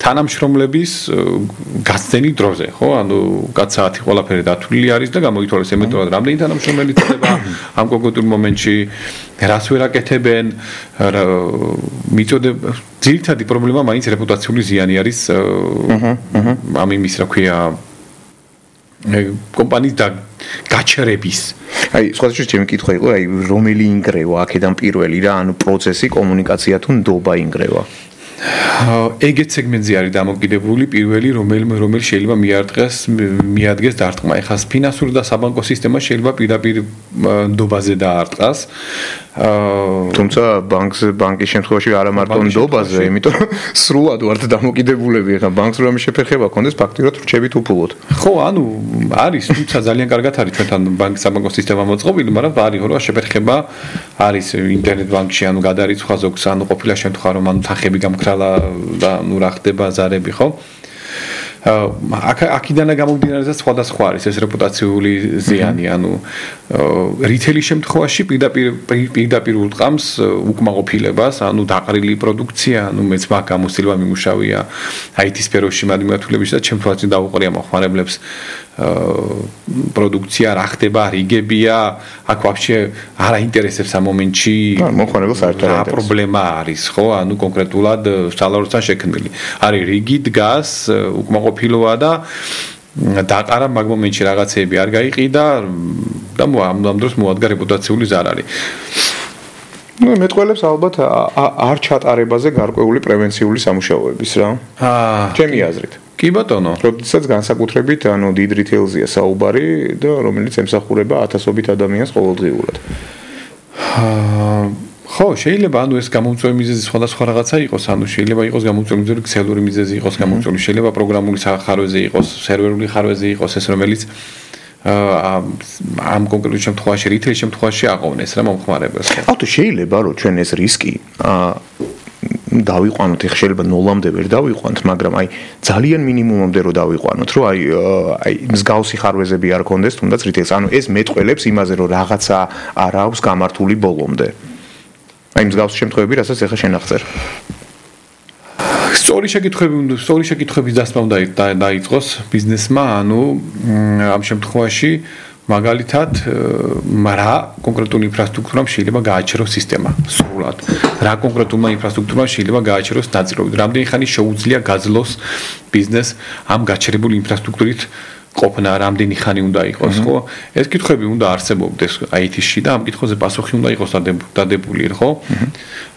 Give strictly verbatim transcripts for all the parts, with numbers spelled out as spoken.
თანამშრომლების გასცენის დროზე, ხო? ანუ კაცსაათი ყველაფერი დათვლილი არის და გამოითვალეს ემეტურად რამდენი თანამშრომელი წდება ამ კონკრეტულ მომენტში, რას ვერ აკეთებენ, მიწოდება ძირითადი პრობლემა მაინც რეპუტაციული ზიანი არის ამ იმის რა ქვია კომპანიის და გაჩერების. აი, სხვადასხვა ჩემი კითხვა იყო, აი, რომელი ინგრევა აქედან პირველი რა, ანუ პროცესი, კომუნიკაცია თუ ნდობა ინგრევა. ეგეთ სეგმენტზე არის დამოკიდებული პირველი, რომელიმე რომელი შეიძლება მიარტყეს, მიადგეს დარტყმა. ეხლა ფინანსური და საბანკო სისტემა შეიძლება პირდაპირ ნდობაზე დაარტყას. თუმცა ბანკს ბანკის შემთხვევაში არა მარტო ნდობაზე, იმიტომ სრულად ვართ დამოკიდებულები. ეხლა ბანკს რომ შეფერხება კონდეს ფაქტიურად რჩებით უფულოდ. ხო, ანუ არის, თუმცა ძალიან კარგად არის ჩვენთან ბანკის საბანკო სისტემა მოწყობილი, მაგრამ არის რომ შეფერხება არის ინტერნეტ ბანკში, ანუ გადარიცხვა ზოგს, ანუ ყოფილა შემთხვევა რომ ანუ თანხები გამქრალა და ნუ რა ხდება ზარები, ხო? აქ აქიდანა გამომდინარესაც სხვადასხვა არის ეს რეპუტაციული ზიანი, ანუ რიტეილის შემთხვევაში პირდაპირ პირდაპირ ურტყამს უკმაყოფილებას, ანუ დაყრილი პროდუქცია, ანუ მეც მაგ გამოცდილება მიმუშავია აი ტი სფეროში მადმიათულებში და ჩემ თვალწინ დავუყრია მოხმარებლებს პროდუქცია რა ხდება, რიგებია, აქ ვაფშე არ აინტერესებს ამ მომენტში მოხმარებელს საერთოდ რა პრობლემა არის, ხო? ანუ კონკრეტულად სალაროსთან შექმნილი. არის რიგი დგას, უკმაყოფილოა და დაყარა მაგ მომენტში რაღაცეები არ გაიყიდა და ამ დროს მოადგა რეპუტაციული ზარარი. ნუ მეტყველებს ალბათ არ ჩატარებაზე გარკვეული პრევენციული სამუშაოების რა. აა, ჩემი აზრით. კი ბატონო. როდესაც განსაკუთრებით ანუ დიდ რიტეილზია საუბარი და რომელიც ემსახურება ათასობით ადამიანს ყოველდღიურად. აა ხო, შეიძლება ანუ ეს გამომწვევი მიზეზი სხვადასხვა რაღაცა იყოს, ანუ შეიძლება იყოს გამომწვევი მიზეზი ქსელური მიზეზი იყოს გამომწვევი, შეიძლება პროგრამული ხარვეზე იყოს, სერვერული ხარვეზე იყოს ეს რომელიც ამ კონკრეტულ შემთხვევაში, რიტეილის შემთხვევაში აყოვნეს რა მომხმარებელს. ავტო შეიძლება რომ ჩვენ ეს რისკი დავიყვანოთ, ეხლა შეიძლება ნოლამდე ვერ დავიყვანთ, მაგრამ აი ძალიან მინიმუმამდე რომ დავიყვანოთ, რომ აი აი მსგავსი ხარვეზები არ კონდეს, თუნდაც რიტეილს. ანუ ეს მეტყველებს იმაზე, რომ რაღაცა არ აქვს გამართული ბოლომდე. აი მსგავსი შემთხვევები, რასაც ეხლა შენ აღწერ. სწორი შეკითხვები, სწორი შეკითხვების დასმა უნდა დაიწყოს ბიზნესმა, ანუ ამ შემთხვევაში მაგალითად რა კონკრეტული ინფრასტრუქტურამ შეიძლება გააჩეროს სისტემა სრულად. რა კონკრეტულმა ინფრასტრუქტურამ შეიძლება გააჩეროს ნაწილობრივ. რამდენი ხანი შეუძლია გაძლოს ბიზნეს ამ გაჩერებული ინფრასტრუქტურით ყოფნა, რამდენი ხანი უნდა იყოს, ხო? ეს კითხვები უნდა არსებობდეს აი ტი-ში და ამ კითხვაზე პასუხი უნდა იყოს დადებული, ხო?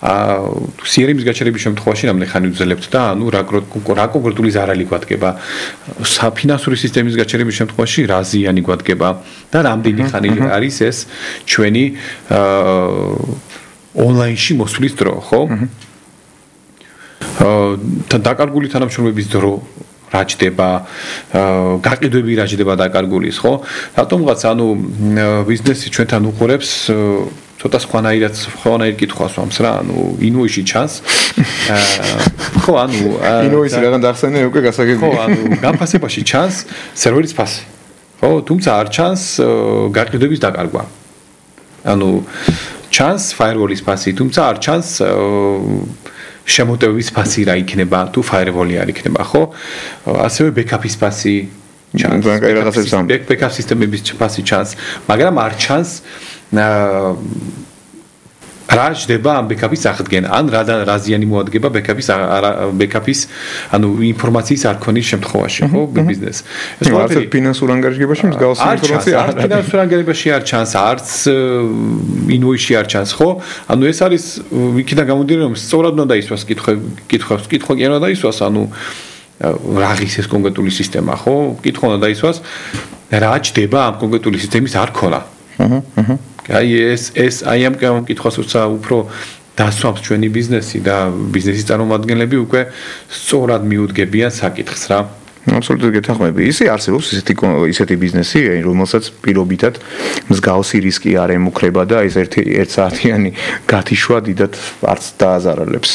აა სი არ ემის გაჩერების შემთხვევაში რამდენი ხანი უძლებთ და ანუ რა რა კონკრეტული ზარალი გვადგება. საფინანსური სისტემის გაჩერების შემთხვევაში რა ზიანი გვადგება და რამდენი ხანი არის ეს ჩვენი აა ონლაინში მოსვლის დრო, ხო? აა დაკარგული თანამშრომლების დრო რა ჯდება, გაყიდვები რა ჯდება დაკარგულის, ხო? რატომღაც ანუ ბიზნესი ჩვენთან უყურებს ცოტა სხვანაირად სხვანაირ კითხვას ვამს რა, ანუ ინუიში ჩანს. ხო, ანუ ინუისი რაღაც ახსენე უკვე გასაგებია. ხო, ანუ გაფასებაში ჩანს სერვერის ფასი. ხო, თუმცა არ ჩანს გაყიდვების დაკარგვა. ანუ ჩანს firewall-ის ფასი, თუმცა არ ჩანს შემოტევების ფასი რა იქნება თუ firewall-ი არ იქნება, ხო? ასევე backup-ის ფასი ჩანს. backup სისტემების ფასი ჩანს, მაგრამ არ ჩანს რა ჯდება ამ backup-ის აღდგენა, ან რა რა ზიანი მოადგება backup-ის backup-ის, ანუ ინფორმაციის არ ქონის შემთხვევაში, ხო, ბიზნეს. ეს ყველაფერი ფინანსურ ანგარიშებაში მსგავსი ინფორმაცია არ არის. ფინანსურ ანგარიშებში არ ჩანს, არც ინვოისში არ ჩანს, ხო? ანუ ეს არის იქიდან გამომდინარე, რომ სწორად უნდა დაისვას კითხვები, კითხვებს, კითხვა კი არ უნდა დაისვას, ანუ რაღის ეს კონკრეტული სისტემა, ხო? კითხვა უნდა დაისვას, რა ჯდება ამ კონკრეტული სისტემის არ ქონა. აჰა, აჰა. აი ეს ეს აი ამ კითხვას უფრო დასვამს ჩვენი ბიზნესი და ბიზნესის წარმომადგენლები უკვე სწორად მიუდგებიან საკითხს რა. აბსოლუტურად გეთანხმები. ისე არსებობს ისეთი ისეთი ბიზნესი, რომელსაც პირობითად მსგავსი რისკი არ ემუქრება და ეს ერთი ერთსაათიანი გათიშვა დიდად არც დააზარალებს.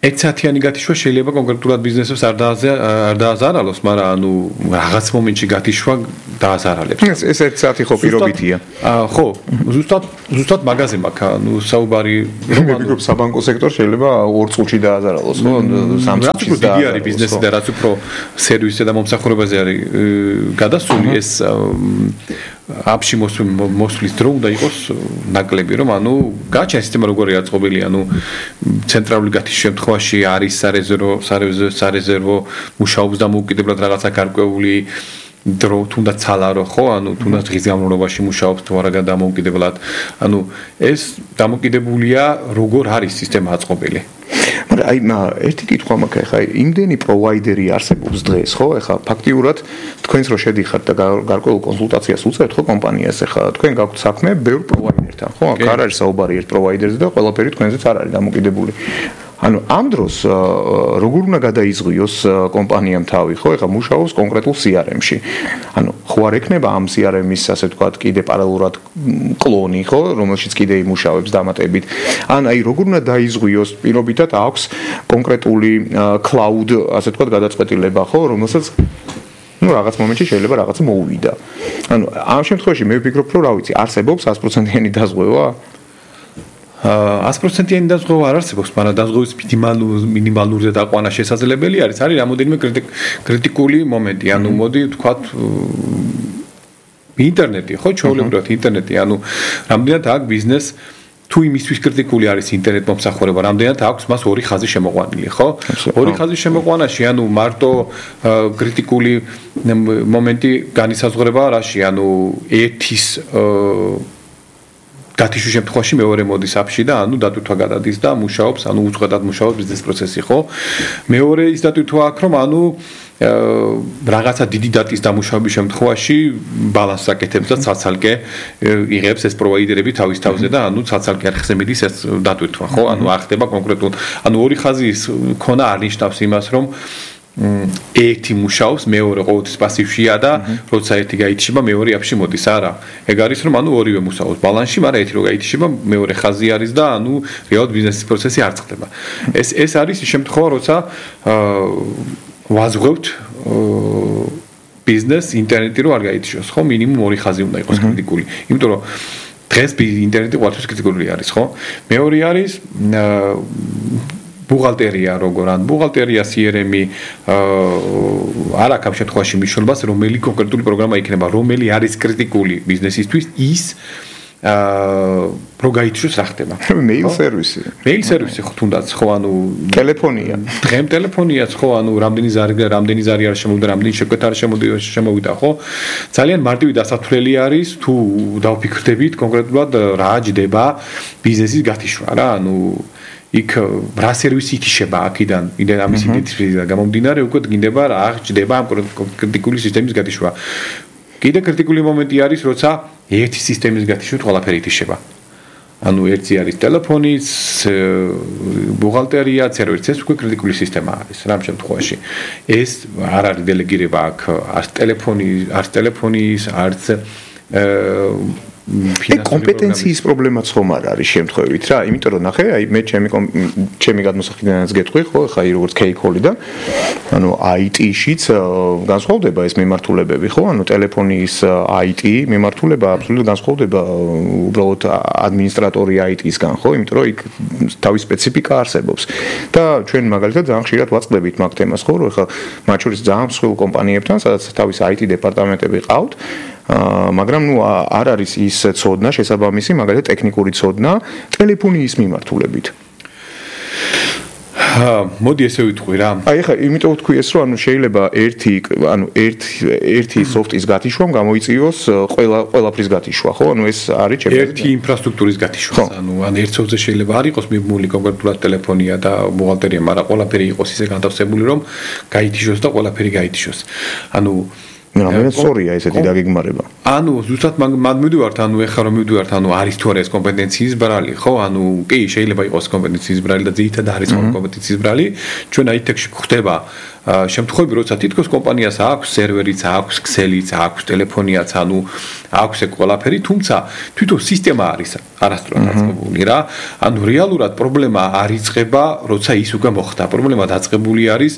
ერთ საათიანი გათიშვა შეიძლება კონკრეტულად ბიზნესებს არ არ დააზარალოს, მაგრამ ანუ რაღაც მომენტში გათიშვა დააზარალებს. ეს ეს ერთ საათი ხო პირობითია. ხო, ზუსტად ზუსტად მაგაზე მაქვს, ანუ საუბარი რომ ანუ საბანკო სექტორ შეიძლება ორ წუთში დააზარალოს, ხო? სამ წუთში დააზარალოს. დიდი არის ბიზნესი და რაც უფრო სერვისზე და მომსახურებაზე არის გადასული ეს აფში მოსვლის დრო უნდა იყოს ნაკლები, რომ ანუ გაჩენ სისტემა როგორია აწყობილი, ანუ ცენტრალური გათიშვის შემთხვევაში არის სარეზერვო სარეზერვო მუშაობს და მოუკიდებლად რაღაცა გარკვეული დრო თუნდაც ცალარო ხო, ანუ თუნდაც დღის განმავლობაში მუშაობს თუ არა დამოუკიდებლად, ანუ ეს დამოკიდებულია როგორ არის სისტემა აწყობილი. მაგრამ აი ერთი კითხვა მაქვს, ეხლა იმდენი პროვაიდერი არსებობს დღეს, ხო? ეხლა ფაქტიურად თქვენს რო შედიხართ და გარკვეულ კონსულტაციას უწევთ ხო კომპანიას, ეხლა თქვენ გაქვთ საქმე ბევრ პროვაიდერთან, ხო? აქ არ არის საუბარი ერთ პროვაიდერზე და ყველაფერი თქვენზეც არ არის დამოკიდებული. ანუ ამ დროს როგორ უნდა გადაიზღვიოს კომპანიამ თავი, ხო? ეხლა მუშაობს კონკრეტულ სი არ ემში. ანუ ხო არ ექნება ამ სი არ ემის, ასე ვთქვათ, კიდე პარალელურად კლონი, ხო, რომელშიც კიდე იმუშავებს დამატებით. ან აი როგორ უნდა დაიზღვიოს, პირობითად აქვს კონკრეტული cloud, ასე ვთქვათ, გადაწყვეტილება, ხო, რომელსაც ну რაღაც მომენტში შეიძლება რაღაცა მოუვიდა. ანუ ამ შემთხვევაში მე ვფიქრობ, რომ რა ვიცი, არსებობს ას პროცენტიანი დაზღვევა? ას პროცენტიანი დაზღვევა არ არსებობს, მაგრამ დაზღვევის მინიმალურზე დაყვანა შესაძლებელი არის. არის რამოდენიმე კრიტიკული მომენტი. ანუ მოდი ვთქვათ ინტერნეტი, ხო, ჩვეულებრივად ინტერნეტი, ანუ რამდენად აქ ბიზნეს თუ იმისთვის კრიტიკული არის ინტერნეტ მომსახურება, რამდენად აქვს მას ორი ხაზი შემოყვანილი, ხო? ორი ხაზი შემოყვანაში, ანუ მარტო კრიტიკული მომენტი განისაზღვრება რაში, ანუ ერთის გათიშვის შემთხვევაში მეორე მოდის აფში და ანუ დატვირთვა გადადის და მუშაობს, ანუ უწყვეტად მუშაობს ბიზნეს პროცესი, ხო? მეორე ის დატვირთვა აქვს, რომ ანუ რაღაცა დიდი დატის დამუშავების შემთხვევაში ბალანსს აკეთებს და ცალ-ცალკე იღებს ეს პროვაიდერები თავის თავზე და ანუ ცალ-ცალკე არხზე მიდის ეს დატვირთვა, ხო? ანუ არ ხდება კონკრეტულ, ანუ ორი ხაზის ქონა არ ნიშნავს იმას, რომ ერთი მუშაობს, მეორე ყოველთვის პასივშია და როცა ერთი გაითიშება, მეორე აფში მოდის, არა. ეგ არის რომ ანუ ორივე მუშაობს ბალანსში, მაგრამ ერთი რო გაითიშება, მეორე ხაზი არის და ანუ რეალურად ბიზნესის პროცესი არ წყდება. ეს ეს არის შემთხვევა, როცა ვაზღვევთ ბიზნეს ინტერნეტი რო არ გაითიშოს, ხო? მინიმუმ ორი ხაზი უნდა იყოს კრიტიკული. იმიტომ რომ დღეს ინტერნეტი ყოველთვის კრიტიკული არის, ხო? მეორე არის ბუღალტერია როგორ ან ბუღალტერია სი არ ემი არ აქვს ამ შემთხვევაში მნიშვნელობას, რომელი კონკრეტული პროგრამა იქნება, რომელი არის კრიტიკული ბიზნესისთვის, ის რო გაითიშოს რა ხდება. მეილ სერვისი. მეილ სერვისი ხო თუნდაც ხო ანუ ტელეფონია. დღემ ტელეფონიაც ხო ანუ რამდენი ზარი რამდენი ზარი არ შემოვიდა, რამდენი შეკვეთა არ შემოვიდა, ხო? ძალიან მარტივი დასათვლელი არის თუ დავფიქრდებით კონკრეტულად რა ჯდება ბიზნესის გათიშვა რა, ანუ იქ რა სერვისი ითიშება აქიდან, იმდენ ამის იდენტიფიკაცია გამომდინარე უკვე გინდება რა ჯდება ამ კრიტიკული სისტემის გათიშვა. კიდე კრიტიკული მომენტი არის, როცა ერთი სისტემის გათიშვით ყველაფერი ითიშება. ანუ ერთი არის ტელეფონის, ბუღალტერია, სერვერიც, ეს უკვე კრიტიკული სისტემა არის რამ შემთხვევაში. ეს არ არის დელეგირება აქ არც ტელეფონი, არც ტელეფონის, არც კომპეტენციის პრობლემაც ხომ არ არის შემთხვევით რა, იმიტომ რომ ნახე, აი მე ჩემი ჩემი გადმოსახედანაც გეტყვი, ხო, ხა როგორც კეიქოლიდან, ანუ აი ტი-შიც განსხვავდება ეს მიმართულებები, ხო, ანუ ტელეფონის აი ტი მიმართულება აბსოლუტურად განსხვავდება უბრალოდ ადმინისტრატორი აი ტი-სგან, ხო, იმიტომ რომ იქ თავის სპეციფიკა არსებობს. და ჩვენ მაგალითად ძალიან ხშირად ვაწყდებით მაგ თემას, ხო, რომ ხა მათ შორის ძალიან მსხვილ კომპანიებთან, სადაც თავის აი ტი დეპარტამენტები ყავთ, მაგრამ ნუ არ არის ის ცოდნა შესაბამისი, მაგალითად ტექნიკური ცოდნა ტელეფონიის მიმართულებით. მოდი ესე ვიტყვი რა. აი ხა, იმიტომ ვთქვი ეს, რომ ანუ შეიძლება ერთი, ანუ ერთი ერთი სოფტის გათიშვამ გამოიწვიოს ყველა ყველაფრის გათიშვა, ხო? ანუ ეს არის ჩემი ერთი ინფრასტრუქტურის გათიშვა. ანუ ან ერთ სოფტზე შეიძლება არ იყოს მიბმული კონკრეტულად ტელეფონია და ბუღალტერია, მაგრამ ყველაფერი იყოს ისე განთავსებული, რომ გაითიშოს და ყველაფერი გაითიშოს. ანუ რამდენად სწორია ესეთი დაგეგმარება? ანუ ზუსტად მაგ მივდივართ, ანუ ეხლა რომ მივდივართ, ანუ არის თუ არა ეს კომპეტენციის ბრალი, ხო? ანუ კი, შეიძლება იყოს კომპეტენციის ბრალი და ძირითადად არის კომპეტენციის ბრალი. ჩვენ აი თი-ში გვხდება შემთხვევები, როცა თითქოს კომპანიას აქვს სერვერიც, აქვს ქსელიც, აქვს ტელეფონიაც, ანუ აქვს ეგ ყველაფერი, თუმცა თვითონ სისტემა არის არასდროს დაწყებული რა. ანუ რეალურად პრობლემა არ იწყება, როცა ის უკვე მოხდა. პრობლემა დაწყებული არის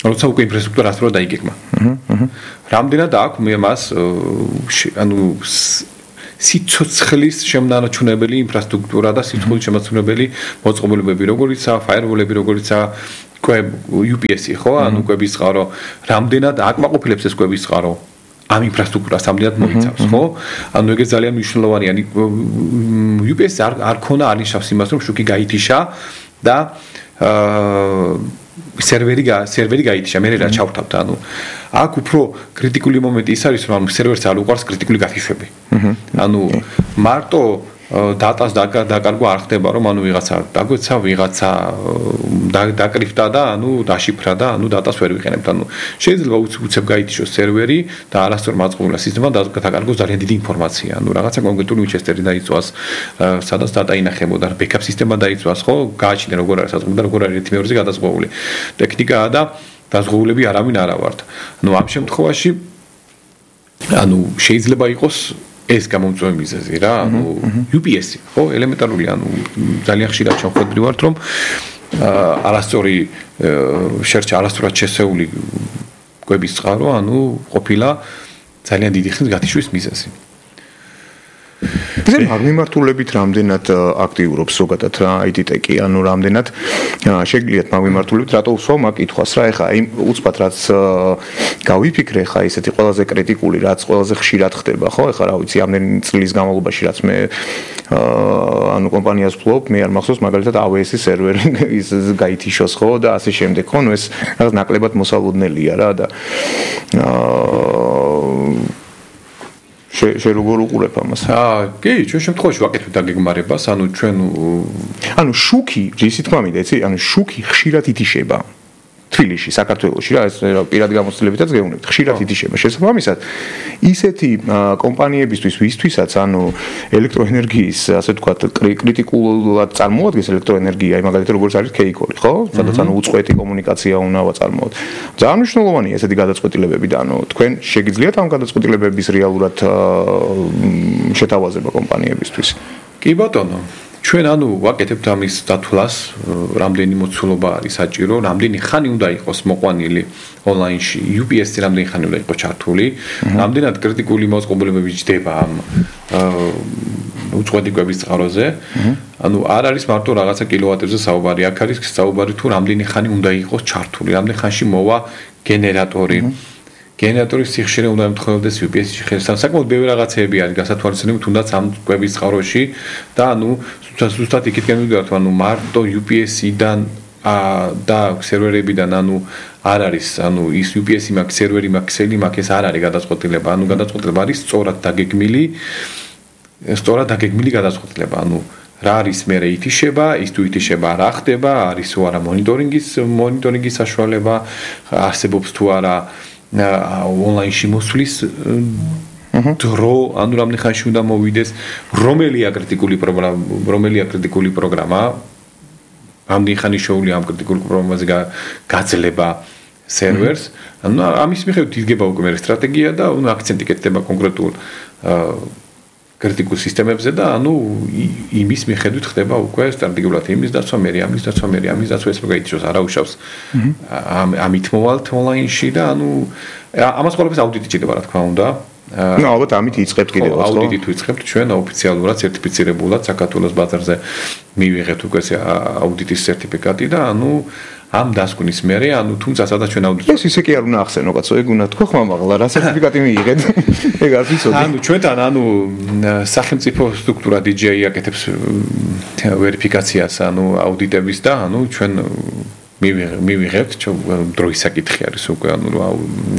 როცა უკვე ინფრასტრუქტურა ასწორა დაიგეგმა. აჰა. რამდენად აქვს მე მას ანუ სიცოცხლის შემონარჩუნებელი ინფრასტრუქტურა და სიცოცხლის შემონარჩუნებელი მოწყობილობები, როგორიცაა ფაიერვოლები, როგორიცაა იუ პი ესი, ხო? ანუ კვების წყარო, რამდენად აკმაყოფილებს ეს კვების წყარო ამ ინფრასტრუქტურას რამდენად მოიცავს, ხო? ანუ ეგეც ძალიან მნიშვნელოვანია. იუ პი ესი არ არ ქონა არნიშნავს იმას, რომ შუქი გაითიშა და აა სერვერი სერვერი გაითიშა, მე რა ჩავთავთ, ანუ აქ უფრო კრიტიკული მომენტი ის არის, რომ სერვერს არ უყარს კრიტიკული გათიშვები. ანუ მარტო დატას დაკარგვა არ ხდება, რომ ანუ ვიღაცა დაგვეცა, ვიღაცა დაკრიფტა და ანუ დაშიფრა და ანუ დატას ვერ ვიყენებთ. ანუ შეიძლება უცებ გაითიშოს სერვერი და არასწორ მაწყობილ სისტემად დაკარგოს ძალიან დიდი ინფორმაცია. ანუ რაღაცა კონკრეტული უჩესტერი დაიწვას, სადაც დატა ინახებოდა, ბექაპ სისტემა დაიწვას, ხო? გააჩნია როგორ არის საზღვრები და როგორ არის ერთი მეორეზე გადაზღვეული. ტექნიკაა და დაზღვეულები არავინ არა ვართ. ანუ ამ შემთხვევაში ანუ შეიძლება იყოს ეს გამომწვევი მიზეზი რა, ანუ იუ პი ესი, ხო, ელემენტარული, ანუ ძალიან ხშირად ჩავხვედრი ვართ, რომ არასწორი შერჩა, არასწორად შესეული კვების წყარო, ანუ ყოფილა ძალიან დიდი ხნის გათიშვის მიზეზი. ეს მაგმიმართულებით რამდენად აქტიურობს ზოგადად რა აი თი ტეკი, ანუ რამდენად შეგიძლიათ მაგმიმართულებით რატო უსვამ მაგ კითხვას რა, ეხა იმ უცბად რაც გავიფიქრე ხა ისეთი ყველაზე კრიტიკული, რაც ყველაზე ხშირად ხდება, ხო? ეხა რა ვიცი, ამდენი წლის განმავლობაში რაც მე ანუ კომპანიას ვფლობ, მე არ მახსოვს მაგალითად эй დაბლიუ ეს-ის სერვერი ის გაითიშოს, ხო და ასე შემდეგ, ხო? ნუ ეს რაღაც ნაკლებად მოსალოდნელია რა და აა შე როგორ უყურებ ამას? აა, კი, ჩვენ შემთხვევაში ვაკეთებთ დაგეგმარებას, ანუ ჩვენ ანუ შუქი, ისი თქვა მინდა, იცი, ანუ შუქი ხშირად ითიშება. თბილისში, საქართველოში რა, ეს პირად გამოცდილებითაც გეუბნებთ, ხშირად ითიშება. შესაბამისად, ისეთი კომპანიებისთვის, ვისთვისაც, ანუ ელექტროენერგიის, ასე ვთქვათ, კრიტიკულად წარმოადგენს ელექტროენერგია, მაგალითად როგორც არის ქეიკოლი, ხო? სადაც ანუ უწყვეტი კომუნიკაცია უნდა წარმოოთ. ძალიან მნიშვნელოვანია ესეთი გადაწყვეტილებები და ანუ თქვენ შეგიძლიათ ამ გადაწყვეტილებების რეალურად შეთავაზება კომპანიებისთვის? კი ბატონო. ჩვენ ანუ ვაკეთებთ ამის დათვლას, რამდენი მოცულობა არის საჭირო, რამდენი ხანი უნდა იყოს მოყვანილი ონლაინში, იუ პი ესი რამდენი ხანი უნდა იყოს ჩართული, რამდენად კრიტიკული მოწყობილობები ჯდება ამ უწყვეტი კვების წყაროზე. ანუ არ არის მარტო რაღაცა კილოვატებზე საუბარი, აქ არის საუბარი თუ რამდენი ხანი უნდა იყოს ჩართული, რამდენი ხანში მოვა გენერატორი. გენერატორის სიხშირე უნდა ემთხვეოდეს იუ პი ესი-ში ხელს. საკმაოდ ბევრი რაღაცეები არის გასათვალისწინებელი, თუნდაც ამ კვების წყაროში და ანუ ზუსტად იქითკენ მივიდივართ, ანუ მარტო იუ პი ესი-დან და სერვერებიდან ანუ არ არის, ანუ ის იუ პი ესი მაქვს, სერვერი მაქვს, ქსელი მაქვს, ეს არ არის გადაწყვეტილება, ანუ გადაწყვეტილება არის სწორად დაგეგმილი, სწორად დაგეგმილი გადაწყვეტილება, ანუ რა არის მე ითიშება, ის თუ ითიშება რა ხდება, არის თუ არა მონიტორინგის მონიტორინგის საშუალება, არსებობს თუ არა ონლაინში მოსვლის დრო, ანუ რამდენი ხანში უნდა მოვიდეს, რომელია კრიტიკული პროგრამა, რომელია კრიტიკული პროგრამა, რამდენი ხანი შეუძლია ამ კრიტიკულ პროგრამაზე გაძლება სერვერს, ანუ ამის მიხედვით იდგება უკვე მე სტრატეგია და ანუ აქცენტი კეთდება კონკრეტულ კრიტიკულ სისტემებზე და ანუ იმის მიხედვით ხდება უკვე სტრატეგიულად იმის დაცვა, მე ამის დაცვა, მე ამის დაცვა, ეს მოგაიჩოს არაუშავს ამით მოვალთ ონლაინში და ანუ ამას ყველაფერს აუდიტი ჭირდება რა თქმა უნდა. ნუ ალბათ ამით იწყებთ კიდევ ხო? აუდიტით ვიწყებთ ჩვენ ოფიციალურად სერტიფიცირებულად საქართველოს ბაზარზე მივიღეთ უკვე აუდიტის სერტიფიკატი და ანუ ამ დასკვნის მერე, ანუ თუმცა სადაც ჩვენ აუდიტი ეს ისე კი არ უნდა ახსენო კაცო, ეგ უნდა თქვა ხმამაღლა, რა სერტიფიკატი მიიღეთ. ეგ არ ვიცოდი. ანუ ჩვენთან ანუ სახელმწიფო სტრუქტურა დი ჯეი აკეთებს ვერიფიკაციას, ანუ აუდიტების და ანუ ჩვენ მივიღებთ, დროის საკითხი არის უკვე, ანუ რა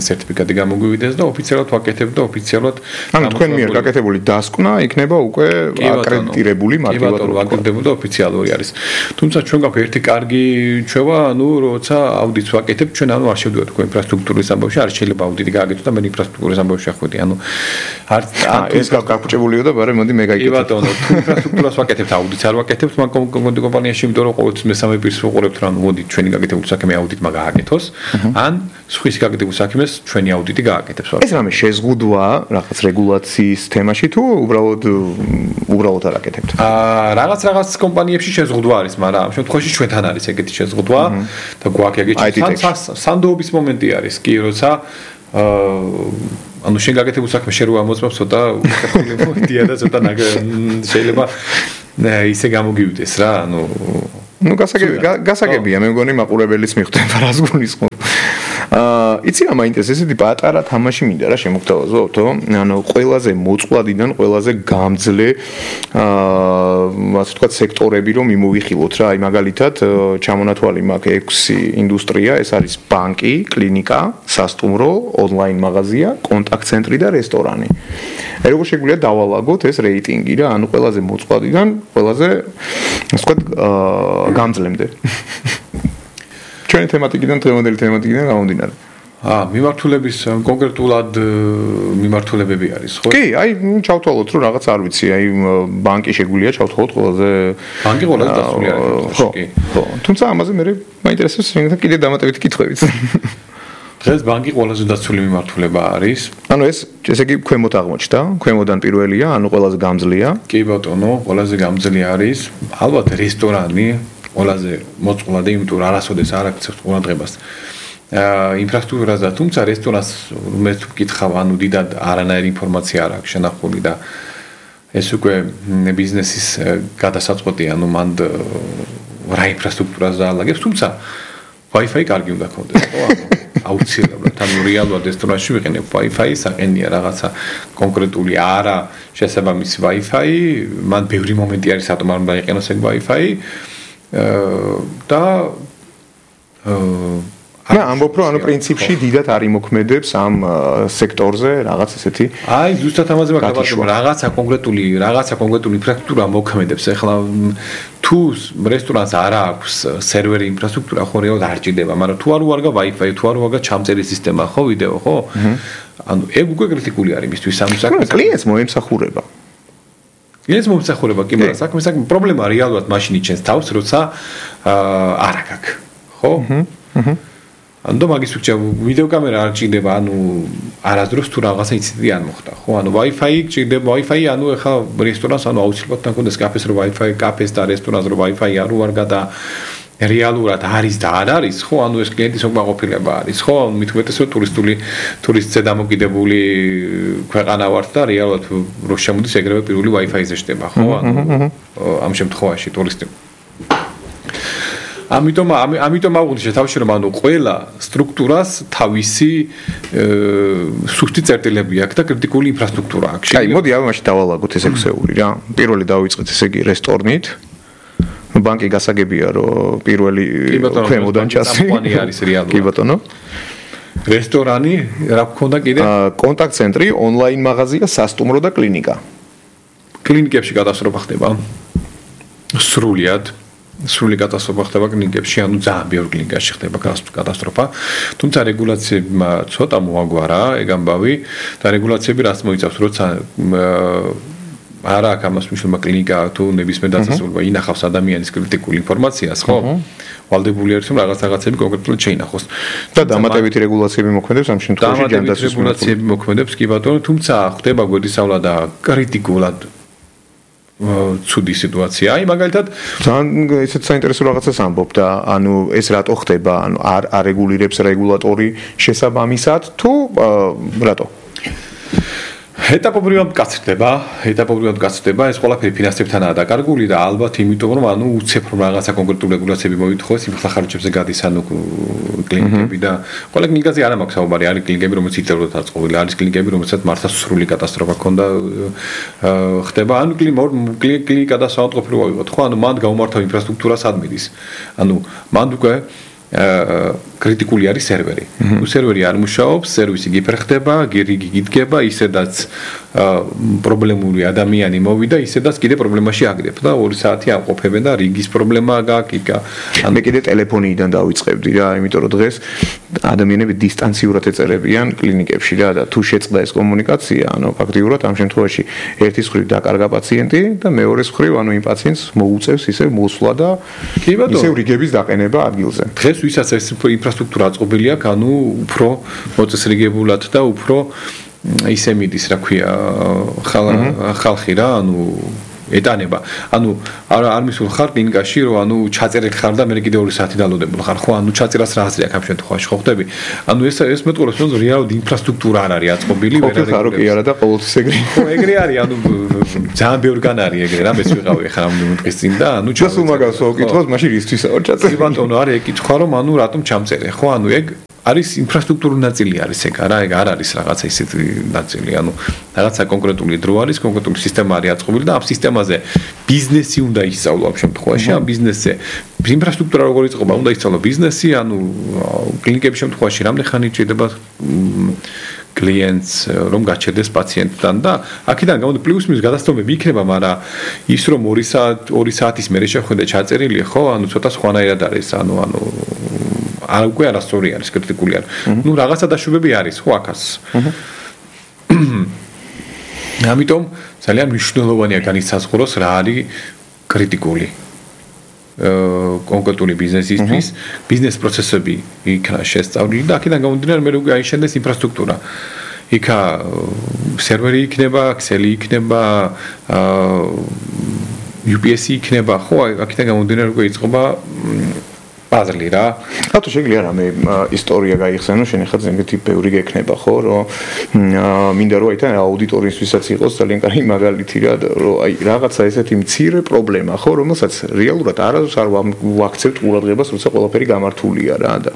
სერტიფიკატი გამოგვივიდეს და ოფიციალურად ვაკეთებთ და ოფიციალურად ანუ თქვენ მიერ გაკეთებული დასკვნა იქნება უკვე აკრედიტირებული მარტივად ვაკეთებული და ოფიციალური არის. თუმცა ჩვენ გვაქვს ერთი კარგი ჩვევა, ანუ როცა აუდიტს ვაკეთებთ, ჩვენ ანუ არ შევდივართ თქვენ ინფრასტრუქტურის ამბავში, არ შეიძლება აუდიტი გააკეთოთ და მე ინფრასტრუქტურის ამბავში ახვედი. ანუ არ ეს გაგაჭებულიო და ბარე მოდი მე გაიგეთ. კი ბატონო, თუ ინფრასტრუქტურას ვაკეთებთ, აუდიტს არ ვაკეთებთ, მაგ კომპანიაში, იმიტომ რომ ყოველთვის მესამე პირს ვუყურებთ, რომ მოდი ჩვენი გაკეთებული საქმე აუდიტმა გააკეთოს, ან სხვისი გაკეთებული საქმეს ჩვენი აუდიტი გააკეთებს. ეს რამე შეზღუდვა რაღაც რეგულაციის თემაში თუ უბრალოდ უბრალოდ არ აკეთებთ? აა რაღაც რაღაც კომპანიებში შეზღუდვა არის, მაგრამ ამ შემთხვევაში ჩვენთან არის ეგეთი შეზღუდვა და გვაქვს ეგეთი სანდოობის მომენტი არის კი, როცა აა ანუ შენ გაკეთებულ საქმე შენ რო ამოწმებს ცოტა უკეთილი მომენტია და ცოტა შეიძლება ისე გამოგივიდეს რა, ანუ ну გასაგები გასაგებია მე მგონი მაყურებელიც მიხვდება რას გულისხმობ. აა იცი რა მაინტერესებს ესეთი პატარა თამაში მინდა რა შემოგთავაზო, ანუ ყველაზე მოწყვლადიდან ყველაზე გამძლე აა ასე ვთქვათ სექტორები რომ მიმოვიხილოთ რა, აი მაგალითად ჩამონათვალი მაქვს ექვსი ინდუსტრია, ეს არის ბანკი, კლინიკა, სასტუმრო, ონლაინ მაღაზია, კონტაქტ ცენტრი და რესტორანი. აი როგორ შეგვიძლია დავალაგოთ ეს რეიტინგი რა, ანუ ყველაზე მოწყვლადიდან ყველაზე ასე ვთქვათ აა გამძლემდე. ჩვენი თემატიკიდან დღევანდელი თემატიკიდან გამომდინარე. აა მიმართულების კონკრეტულად მიმართულებები არის, ხო? კი, აი ჩავთვალოთ რომ რაღაც არ ვიცი, აი ბანკი შეგვიძლია ჩავთვალოთ ყველაზე ბანკი ყველაზე დასული არის, ხო, კი. ხო. თუმცა ამაზე მე მაინტერესებს შეგიძლია კიდე დამატებითი კითხვებიც. დღეს ბანკი ყველაზე დასული მიმართულება არის. ანუ ეს ესე იგი ქვემოთ აღმოჩნდა, ქვემოდან პირველია, ანუ ყველაზე გამძლეა. კი ბატონო, ყველაზე გამძლე არის. ალბათ რესტორანი ყველაზე მოწყვლადი, იმიტომ რომ არასოდეს არ აქცევს ყურადღებას აა ინფრასტრუქტურაზე, თუმცა რესტორანს მე თუ ვკითხავ, ანუ დიდად არანაირი ინფორმაცია არ აქვს შენახული და ეს უკვე ბიზნესის გადასაწყვეტი, ანუ მან რა ინფრასტრუქტურას დაალაგებს, თუმცა Wi-Fi კარგი უნდა ქონდეს, ხო? აუცილებლად, ანუ რეალურად რესტორანში ვიყენებ Wi-Fi, საყენია რაღაცა კონკრეტული არა შესაბამისი Wi-Fi, მან ბევრი მომენტი არის, რატომ არ უნდა იყენოს ეგ Wi-Fi და მე ამბობ რომ ანუ პრინციპში დიდად არ იმოქმედებს ამ სექტორზე რაღაც ესეთი აი ზუსტად ამაზე მაგალითად რაღაცა კონკრეტული რაღაცა კონკრეტული ინფრასტრუქტურა მოქმედებს ეხლა თუ რესტორანს არ აქვს სერვერი ინფრასტრუქტურა ხო რეალურად არ ჭირდება მაგრამ თუ არ უარგა Wi-Fi თუ არ უარგა ჩამწერი სისტემა ხო ვიდეო ხო ანუ ეგ უკვე კრიტიკული არის იმისთვის ამ საქმეს კლიენტს მოემსახურება ეს მომსახურება კი მაგრამ საქმე საქმე პრობლემა რეალურად მაშინ იჩენს თავს როცა არ აქვს ხო აჰა ანდო მაგის უჩა ვიდეო კამერა არ ჭირდება ანუ არასდროს თუ რაღაცა ინციდენტი არ მოხდა ხო ანუ Wi-Fi ჭირდება Wi-Fi ანუ ეხა რესტორანს ანუ აუცილებლად თქონდეს კაფეს რო Wi-Fi კაფეს და რესტორანს რო Wi-Fi არ უარგა და რეალურად არის და არ არის ხო ანუ ეს კლიენტის უკმაყოფილება არის ხო მithumetes რომ ტურისტული ტურისტზე დამოკიდებული ქვეყანა ვართ და რეალურად რო შემოდის ეგრევე პირველი Wi-Fi-ზე შტება ხო ანუ ამ შემთხვევაში ტურისტი ამიტომ ამიტომ აღვნიშნე თავში რომ ანუ ყველა სტრუქტურას თავისი სუსტი წერტილები აქვს და კრიტიკული ინფრასტრუქტურა აქვს. აი, მოდი ამ მაშინ დავალაგოთ ეს ექსეული რა. პირველი დავიწყეთ ესე იგი რესტორნით. ბანკი გასაგებია რომ პირველი ქვემოდან ჩასი. კომპანია არის რეალურად. კი ბატონო. რესტორანი რა გქონდა კიდე? კონტაქტ ცენტრი, ონლაინ მაღაზია, სასტუმრო და კლინიკა. კლინიკებში კატასტროფა ხდება. სრულიად სრული კატასტროფა ხდება კლინიკებში, ანუ ძალიან ბევრ კლინიკაში ხდება კატასტროფა. თუმცა რეგულაციებმა ცოტა მოაგვარა ეგ ამბავი და რეგულაციები რაც მოიცავს, როცა არა აქვს ამას მნიშვნელობა კლინიკა თუ ნებისმიერ დაწესებულება ინახავს ადამიანის კრიტიკული ინფორმაციას, ხო? ვალდებული არის რომ რაღაც რაღაცები კონკრეტულად შეინახოს. და დამატებითი რეგულაციები მოქმედებს ამ შემთხვევაში ჯანდაცვის რეგულაციები მოქმედებს კი ბატონო, თუმცა ხდება გვერდისავლა და კრიტიკულად ცუდი სიტუაცია. აი მაგალითად ძალიან ესეც საინტერესო რაღაცას ამბობ და ანუ ეს რატო ხდება? ანუ არ არეგულირებს რეგულატორი შესაბამისად თუ რატო? ეტაპობრივად გაცრდება, ეტაპობრივად გაცრდება, ეს ყველაფერი ფინანსებთანაა დაკარგული და ალბათ იმიტომ რომ ანუ უცებ რომ რაღაცა კონკრეტული რეგულაციები მოითხოვეს, იმ ხარჯებზე გადის ანუ კლინიკები და ყველა კლინიკაზე არ მაქვს საუბარი, არის კლინიკები რომელიც იწევროთ აწყობილი, არის კლინიკები რომელსაც მართლა სრული კატასტროფა ქონდა ხდება, ანუ კლინიკა და საავადმყოფო ვიღოთ, ხო, ანუ მანდ გაუმართავ ინფრასტრუქტურას ადმინის. ანუ მანდ უკვე კრიტიკული არის სერვერი. თუ სერვერი არ მუშაობს, სერვისი გიფერხდება, რიგი გიდგება, ისედაც პრობლემური ადამიანი მოვიდა, ისედაც კიდე პრობლემაში აგდებ და ორი საათი ამყოფებენ და რიგის პრობლემა გააკიკა. მე კიდე ტელეფონიდან დავიწყებდი რა, იმიტომ რომ დღეს ადამიანები დისტანციურად ეწერებიან კლინიკებში რა და თუ შეწყდა ეს კომუნიკაცია, ანუ ფაქტიურად ამ შემთხვევაში ერთის მხრივ დაკარგა პაციენტი და მეორეს მხრივ ანუ იმ პაციენტს მოუწევს ისევ მოსვლა და ისევ რიგების დაყენება ადგილზე. დღეს ვისაც ეს ინფრასტრუქტურა აწყობილი აქვს, ანუ უფრო მოწესრიგებულად და უფრო ისე მიდის, რა ქვია, ხალხი რა, ანუ ეტანება. ანუ არ არ მისულ ხარ კლინიკაში, რომ ანუ ჩაწერილ ხარ და მე კიდე ორი საათი დალოდებულ ხარ, ხო? ანუ ჩაწერას რა აზრი აქვს ამ შემთხვევაში, ხო ხდები? ანუ ეს ეს მეტყოლებს, რომ რეალურად ინფრასტრუქტურა არ არის აწყობილი, ვერ არის. ხო, ხარო კი არა და ყოველთვის ეგრე. ხო, ეგრე არის, ანუ ძალიან ბევრგან არის ეგრე, რა მეც ვიყავი ხა რამდენი დღის წინ და ანუ ჩასულ მაგას ვკითხოთ, მაშინ რისთვისა ვარ ჩაწერილი? ბატონო, არის ეკითხვა, რომ ანუ რატომ ჩამწერე, ხო? ანუ ეგ არის ინფრასტრუქტურული ნაწილი არის ეგ არა ეგ არ არის რაღაცა ისეთი ნაწილი ანუ რაღაცა კონკრეტული დრო არის კონკრეტული სისტემა არის აწყობილი და ამ სისტემაზე ბიზნესი უნდა ისწავლო ამ შემთხვევაში ამ ბიზნესზე ინფრასტრუქტურა როგორ იწყება უნდა ისწავლო ბიზნესი ანუ კლინიკების შემთხვევაში რამდენი ხანი ჭირდება კლიენტს რომ გაჩერდეს პაციენტთან და აქედან გამომდინარე პლუს მინუს გადასტომები იქნება მაგრამ ის რომ ორი საათი ორი საათის მერე შეხვედრა ჩაწერილი ხო ანუ ცოტა სხვანაირად არის ანუ ანუ არ უკვე არასწორი არის კრიტიკული არის. ნუ რაღაცა დაშვებები არის, ხო აქაც. ამიტომ ძალიან მნიშვნელოვანია განისაზღვროს რა არის კრიტიკული. კონკრეტული ბიზნესისთვის, ბიზნეს პროცესები იქნა შესწავლილი და აქედან გამომდინარე მე უკვე აიშენდეს ინფრასტრუქტურა. იქა სერვერი იქნება, Excel-ი იქნება, U P S-ი იქნება, ხო, აქედან გამომდინარე უკვე იწყება პაზლი რა. რატო შეგვიძლია რამე ისტორია გაიხსენო, შენ ხა ზემეთი ბევრი გექნება ხო, რომ მინდა რომ აითან აუდიტორიისთვისაც იყოს ძალიან კარგი მაგალითი რა, რომ აი რაღაცა ესეთი მცირე პრობლემა ხო, რომელსაც რეალურად არასდროს არ ვაქცევთ ყურადღებას, როცა ყველაფერი გამართულია რა და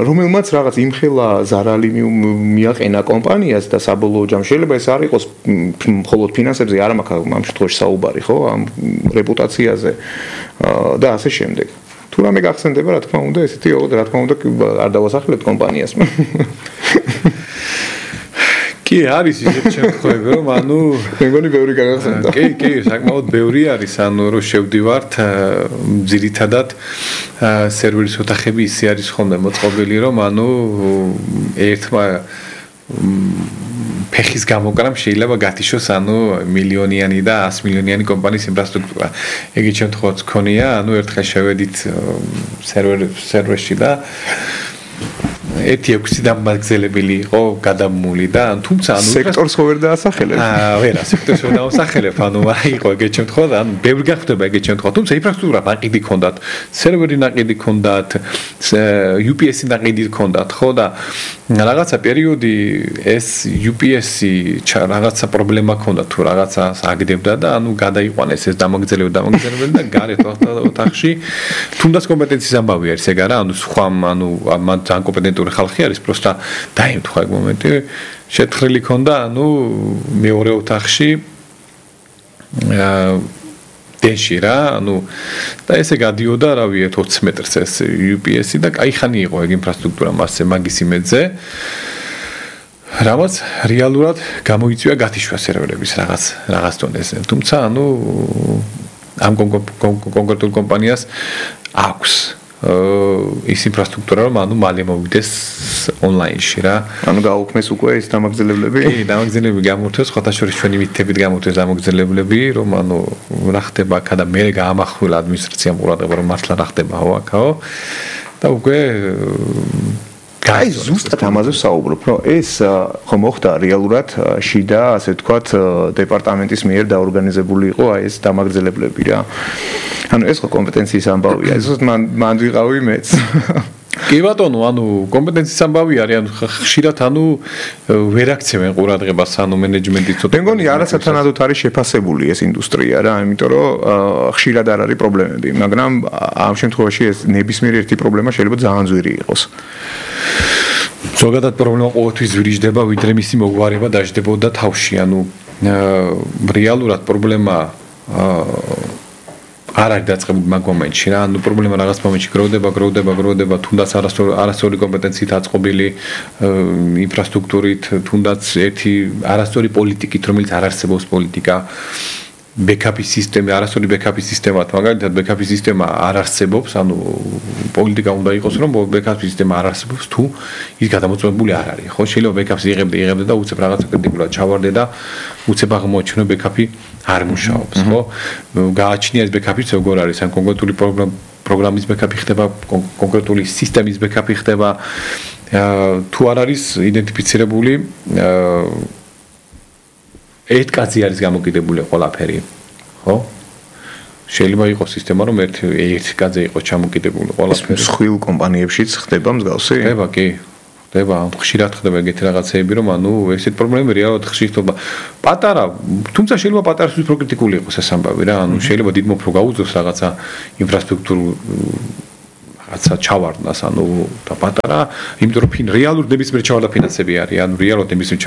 რომელმაც რაღაც იმხელა ზარალი მიაყენა კომპანიას და საბოლოო ჯამში შეიძლება ეს არ იყოს მხოლოდ ფინანსებზე, არა მაქვს ამ შემთხვევაში საუბარი ხო, ამ რეპუტაციაზე და ასე შემდეგ. თუ რამე გახსენდება, რა თქმა უნდა, ესეთი რა თქმა უნდა არ დავასახელებთ კომპანიას. კი, არის ისეთი შემთხვევები, რომ ანუ მე მგონი ბევრი გაგახსენდა. კი, კი, საკმაოდ ბევრი არის, ანუ რომ შევდივართ ძირითადად სერვერის ოთახები ისე არის ხოლმე მოწყობილი, რომ ანუ ერთმა ფეხის გამოკრამ შეიძლება გათიშოს ანუ მილიონიანი და ას მილიონიანი კომპანიის ინფრასტრუქტურა. ეგეთ შემთხვევაში ქონია, ანუ ერთხელ შევედით სერვერ სერვერში და ერთი ექვსი დამაგზელებელი იყო გადამული და თუმცა ანუ სექტორს ხო ვერ დაასახელებ? აა, ვერა, სექტორს ვერ დაასახელებ, ანუ არა იყო ეგეთ შემთხვევაში, ანუ ბევრი გახდება ეგეთ შემთხვევაში, თუმცა ინფრასტრუქტურა ნაყიდი ჰქონდათ, სერვერი ნაყიდი ჰქონდათ, U P S-ი ნაყიდი ჰქონდათ, ხო და რაღაცა პერიოდი ეს U P S-ი რაღაცა პრობლემა ჰქონდა თუ რაღაცას აგდებდა და ანუ გადაიყვანეს ეს დამაგზელებელი დამაგზელებელი და გარეთ ოთახში თუნდაც კომპეტენციის ამბავი არის ეგ არა, ანუ სხვა ანუ მან ძალიან კომპეტენტური ხალხი არის, პროსტა დაემთხვა ეგ მომენტი, შეთხრილი ქონდა, ანუ მეორე ოთახში აა დეში რა, ანუ და ესე გადიოდა, რა ვიცი, ოცი მეტრს ეს U P S-ი და კაი ხანი იყო ეგ ინფრასტრუქტურა მასზე, მაგის იმედზე. რამაც რეალურად გამოიწვია გათიშვა სერვერების რაღაც რაღაც დონეზე. თუმცა, ანუ ამ კონკრეტულ კომპანიას აქვს ის ინფრასტრუქტურა, რომ ანუ მალე მოვიდეს ონლაინში რა. ანუ გაუქმეს უკვე ეს დამაგზელებლები? კი, დამაგზელებლები გამორთეს, ხოთა შორის ჩვენი მითებით გამორთეს დამაგზელებლები, რომ ანუ რა ხდება აქა და მე გაამახვილა ადმინისტრაციამ ყურადღება, რომ მართლა რა ხდებაო აქაო და უკვე აი ზუსტად ამაზე ვსაუბრობ, რომ ეს ხო მოხდა რეალურად შიდა, ასე ვთქვათ, დეპარტამენტის მიერ დაორგანიზებული იყო აი ეს დამაგზელებლები რა. ანუ ეს ხო კომპეტენციის ამბავია, ეს მან მან ვიყავი მეც. კი ბატონო, ანუ კომპეტენციის ამბავი არის, ანუ ხშირად ანუ ვერ აქცევენ ყურადღებას, ანუ მენეჯმენტი ცოტა. მე მგონი არასათანადოდ არის შეფასებული ეს ინდუსტრია რა, იმიტომ რომ ხშირად არ არის პრობლემები, მაგრამ ამ შემთხვევაში ეს ნებისმიერი ერთი პრობლემა შეიძლება ძალიან ძვირი იყოს. ზოგადად პრობლემა ყოველთვის ძვირიჯდება, ვიდრე მისი მოგვარება დაждდებოდა თავში, ანუ რეალურად პრობლემა არ არის დაწყებული მაგ მომენტში რა, ანუ პრობლემა რაღაც მომენტში გროვდება, გროვდება, გროვდება, თუნდაც არასწორი არასწორი კომპეტენციით აწყობილი ინფრასტრუქტურით, თუნდაც ერთი არასწორი პოლიტიკით, რომელიც არ არსებობს პოლიტიკა, ბექაპის სისტემა, არასწორი ბექაპის სისტემა, მაგალითად ბექაპის სისტემა არ არსებობს, ანუ პოლიტიკა უნდა იყოს, რომ ბექაპის სისტემა არ არსებობს, თუ ის გადამოწმებული არ არის, ხო? შეიძლება ბექაპს იღებდე, იღებდე და უცებ რაღაცა კრიტიკულად ჩავარდე და უცებ აღმოაჩინო ბექაპი არ მუშაობს, ხო? გააჩნია ეს ბექაპიც როგორ არის, ან კონკრეტული პროგრამის ბექაპი ხდება, კონკრეტული სისტემის ბექაპი ხდება, თუ არ არის იდენტიფიცირებული ერთ კაცი არის გამოკიდებული ყველაფერი, ხო? შეიძლება იყოს სისტემა, რომ ერთ ერთ კაცზე იყოს ჩამოკიდებული ყველაფერი. სხვილ კომპანიებშიც ხდება მსგავსი? ხდება, კი. ხდება, ხშირად ხდება ეგეთი რაღაცეები, რომ ანუ ესეთ პრობლემები რეალურად ხშირ ხდება. პატარა, თუმცა შეიძლება პატარისთვის პროკრიტიკული იყოს ეს ამბავი რა, ანუ შეიძლება დიდ მოფრო გაუძლოს რაღაცა ინფრასტრუქტურულ რაღაცა ჩავარდნას, ანუ და პატარა, იმიტომ რომ ფინ რეალურ ნებისმიერ ჩავარდა ფინანსები არის, ანუ რეალურად ნებისმიერ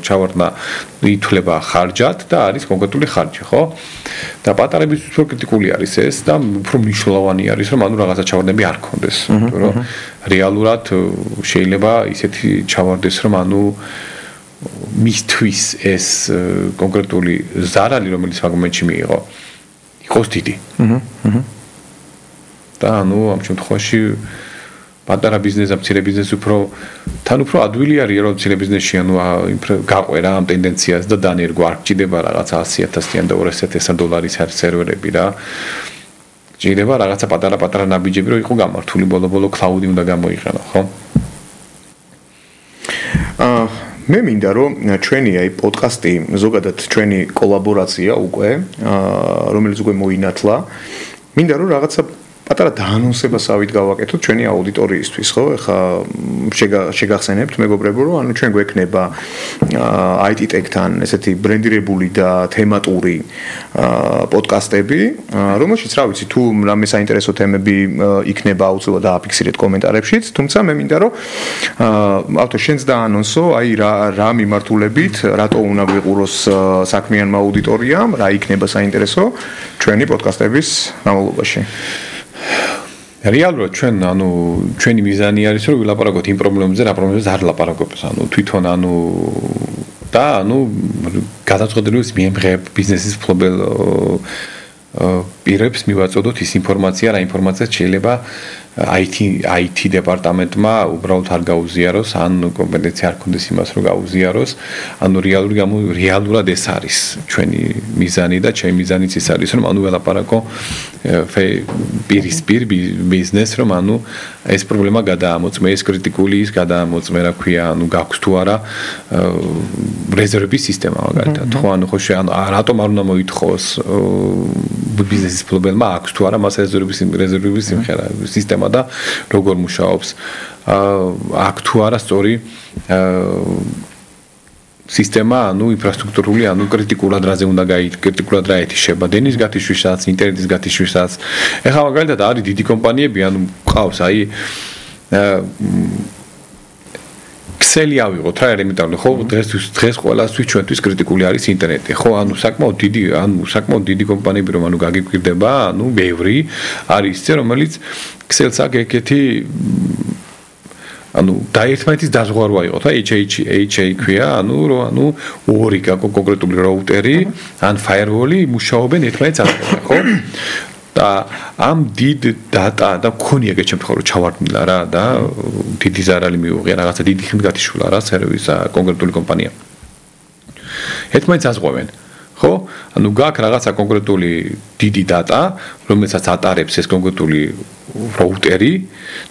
ჩავარდნა ითვლება ხარჯად და არის კონკრეტული ხარჯი, ხო? და პატარების პროკრიტიკული არის ეს და უფრო მნიშვნელოვანი არის, რომ ანუ რაღაცა ჩავარდნები არ ქონდეს, იმიტომ რომ რეალურად შეიძლება ისეთი ჩავარდეს, რომ ანუ მისთვის ეს კონკრეტული ზარალი, რომელიც მაგ მომენტში მიიღო, იყოს დიდი. აჰა, აჰა. და ანუ ამ შემთხვევაში პატარა ბიზნესს, მცირე ბიზნესს უფრო თან უფრო ადვილი არის რომ მცირე ბიზნესში ანუ გაყვერა ამ ტენდენციას და დანერგვა არ გჭირდება რაღაცა ასი ათასიან და ორასი ათასიან დოლარის სერვერები რა. გჭირდება რაღაცა პატარა-პატარა ნაბიჯები რომ იყო გამართული ბოლო-ბოლო cloud-ი უნდა გამოიყენო, ხო? აა მე მინდა რომ ჩვენი აი პოდკასტი ზოგადად ჩვენი კოლაბორაცია უკვე აა რომელიც უკვე მოინათლა მინდა რომ რაღაცა პატარა დაანონსებასავით გავაკეთოთ ჩვენი აუდიტორიისთვის, ხო? ეხა შეგახსენებთ მეგობრებო, რომ ანუ ჩვენ გვექნება აი ტი Tech-თან ესეთი ბრენდირებული და თემატური პოდკასტები, რომელშიც რა ვიცი, თუ რამე საინტერესო თემები იქნება აუცილებლად დააფიქსირეთ კომენტარებშიც, თუმცა მე მინდა რომ ავთო შენც დაანონსო, აი რა რა მიმართულებით, რატო უნდა გვიყუროს საქმიანმა აუდიტორიამ, რა იქნება საინტერესო ჩვენი პოდკასტების განმავლობაში. რეალურად ჩვენ ანუ ჩვენი მიზანი არის რომ ვილაპარაკოთ იმ პრობლემებზე, რა პრობლემებზე არ ლაპარაკობს, ანუ თვითონ ანუ და ანუ გადაწყვეტილების მიემღებ ბიზნესის ფლობელ პირებს მივაწოდოთ ის ინფორმაცია, რა ინფორმაციაც შეიძლება აი ტი აი ტი დეპარტამენტმა უბრალოდ არ გაუზიაროს, ან კომპეტენცია არ ქონდეს იმას, რომ გაუზიაროს, ანუ რეალური გამო რეალურად ეს არის ჩვენი მიზანი და ჩემი მიზანიც ის არის, რომ ანუ ველაპარაკო პირისპირ ბიზნესს, რომ ანუ ეს პრობლემა გადაამოწმე, ეს კრიტიკული ის გადაამოწმე, რა ქვია, ანუ გაქვს თუ არა რეზერვების სისტემა მაგალითად, ხო, ანუ ხო შე ანუ რატომ არ უნდა მოითხოვოს ბიზნესის ფლობელმა აქვს თუ არა მას რეზერვების რეზერვების სიმღერა სისტემა და როგორ მუშაობს აქვს თუ არა სწორი სისტემა, ანუ ინფრასტრუქტურული, ანუ კრიტიკულად რაზე უნდა გაიქ, კრიტიკულად რა ეთიშება, დენის გათიშვისას, ინტერნეტის გათიშვისას. ეხლა მაგალითად არის დიდი კომპანიები, ანუ ყავს აი Excel-ი ავიღოთ რა ელემენტარული, ხო, დღეს დღეს ყველასთვის ჩვენთვის კრიტიკული არის ინტერნეტი, ხო, ანუ საკმაოდ დიდი, ანუ საკმაოდ დიდი კომპანიები რომ ანუ გაგიკვირდება, ანუ ბევრი არის ისე, რომელიც Excel-ს აქ ეგეთი ანუ დაერთმანეთის დაზღვარვა იყო და ეიჩ ეიჩ ქვია, ანუ რომ ანუ ორი კონკრეტული რაუტერი ან firewall-ი მუშაობენ ერთმანეთს ახლოს, ხო? და ამ დიდ დატა და მქონია ეგეთ შემთხვევაში რომ ჩავარდნილა რა და დიდი ზარალი მიუღია რაღაცა დიდი ხმით გათიშულა რა სერვისა კონკრეტული კომპანია. ერთმანეთს აზღვევენ, ხო? ანუ გაქვს რაღაცა კონკრეტული დიდი დატა, რომელსაც ატარებს ეს კონკრეტული რაუტერი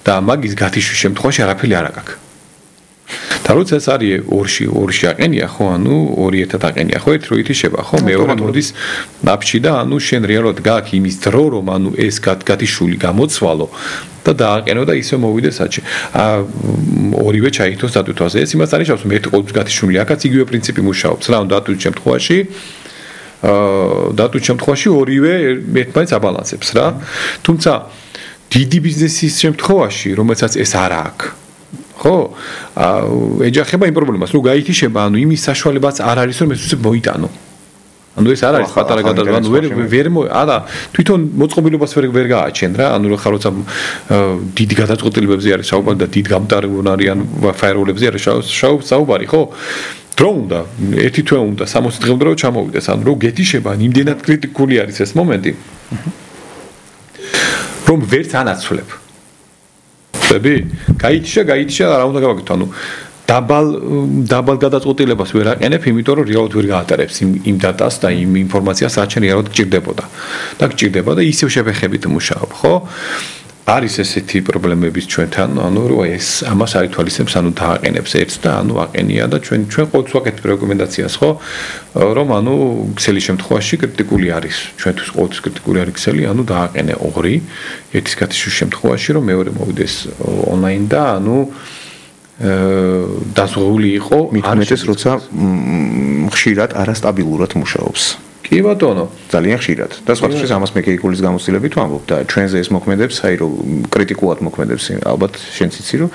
და მაგის გათიშვის შემთხვევაში არაფერი არ აქვს. და როცა ეს არის ორში ორში აყენია, ხო, ანუ ორი ერთად აყენია, ხო, ერთ რო ითიშება, ხო, მეორე მოდის ნაფში და ანუ შენ რეალურად გაქვს იმის დრო, რომ ანუ ეს გათიშული გამოცვალო და დააყენო და ისე მოვიდეს საჭი. აა ორივე ჩაითოს დატვირთვაზე. ეს იმას არნიშნავს, რომ ერთი ყოველთვის გათიშული აქაც იგივე პრინციპი მუშაობს. რა, დატვირთ შემთხვევაში აა დატვირთ შემთხვევაში ორივე ერთმანეთს აბალანსებს რა. თუმცა დიდი ბიზნესის შემთხვევაში, რომელსაც ეს არ აქვს ხო, ეჯახება იმ პრობლემას, რომ გაითიშება, ანუ იმის საშუალებაც არ არის, რომ ეს უცებ მოიტანო. ანუ ეს არ არის პატარა გადაზრდა, ანუ ვერ ვერ არა თვითონ მოწყობილობას ვერ ვერ გააჩენ რა, ანუ ხარ როცა დიდი გადაწყვეტილებებზე არის საუბარი და დიდ გამტარებულნარი ან ფაიეროლებზე არის საუბარი, ხო? დრო უნდა, ერთი თვე უნდა, სამოცი დღე უნდა რომ ჩამოვიდეს, ანუ რომ გეთიშება, იმდენად კრიტიკული არის ეს მომენტი. რომ ვერც ანაცვლებ. ხები? გაიჩა, გაიჩა, რა უნდა გავაკეთო, ანუ დაბალ დაბალ გადაწყვეტილებას ვერ აყენებ, იმიტომ რომ რეალურად ვერ გაატარებს იმ იმ დატას და იმ ინფორმაციას, რაც შენ რეალურად გჭირდებოდა. და გჭირდება და ისევ შეფეხებით მუშაობ, ხო? არის ესეთი პრობლემებიც ჩვენთან, ანუ რომ ეს ამას აითვალისებს, ანუ დააყენებს ერთს და ანუ აყენია და ჩვენ ჩვენ ყოველთვის ვაკეთებ რეკომენდაციას, ხო? რომ ანუ ქსელის შემთხვევაში კრიტიკული არის. ჩვენთვის ყოველთვის კრიტიკული არის ქსელი, ანუ დააყენე ორი, ერთის გათიშვის შემთხვევაში, რომ მეორე მოვიდეს ონლაინ და ანუ დაზღვეული იყო, მithumetes როცა ხშირად არასტაბილურად მუშაობს. კი ბატონო, ძალიან ხშირად. და სხვათაშორის ამას მე კეიკულის გამოცდილებით ვამბობ და ჩვენზე ეს მოქმედებს, აი რომ კრიტიკულად მოქმედებს, ალბათ შენც იცი რომ